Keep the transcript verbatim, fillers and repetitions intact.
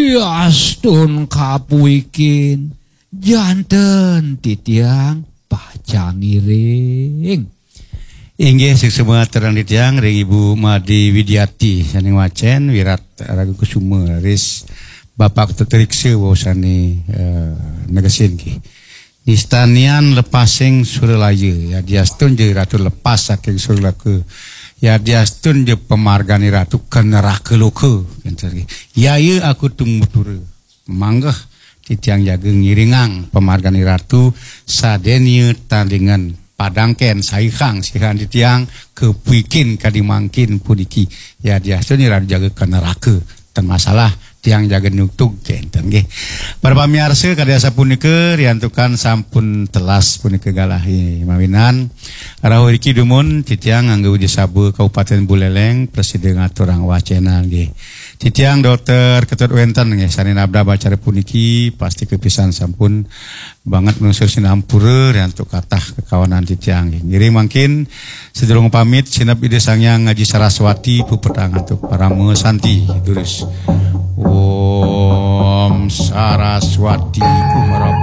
Yastun kapuikin, janten titiang pacang ngiring. Inggih, suksma aturang titiang ring Ibu Made Widiati sané ngwacén, Wirat Raga Kusuma, ris Bapak Teteriksa wau sané, eh, negesin nggih. Nistanian lepasing suralaya, yadiastun ja Ratu lepas saking suralaka, yadiastun ja pamargan Ratu ka neraka loka, kénten nggih. Yaya aku tumutur, manggeh titiang jaga ngiringang pamargan Ratu sadéné tandingan padangkén saihang sihan titiang kapuikin kadi mangkin puniki. Yadiastun Ratu jaga ka neraka, ten masalah, tiang jaga nutug kénten nggih. Para pamiarsa, kadi asapunika riantukan sampun telas punika galahé mawinan. Rauh iriki dumun titiang ngangge Widya Saba Kabupaten Buleleng prasida ngaturang wacénan nggih. Titiang Dokter Ketut wénten nggih sané nabdab acara puniki, pasti kapisan sampun banget manungsa sinampura riantuk katah kakawanan titiang nggih. Ngiring mangkin, sadurung pamit, sineb Ida Sang Hyang Aji Saraswati puputang antuk parama santi durus. Om Saraswati Kumarap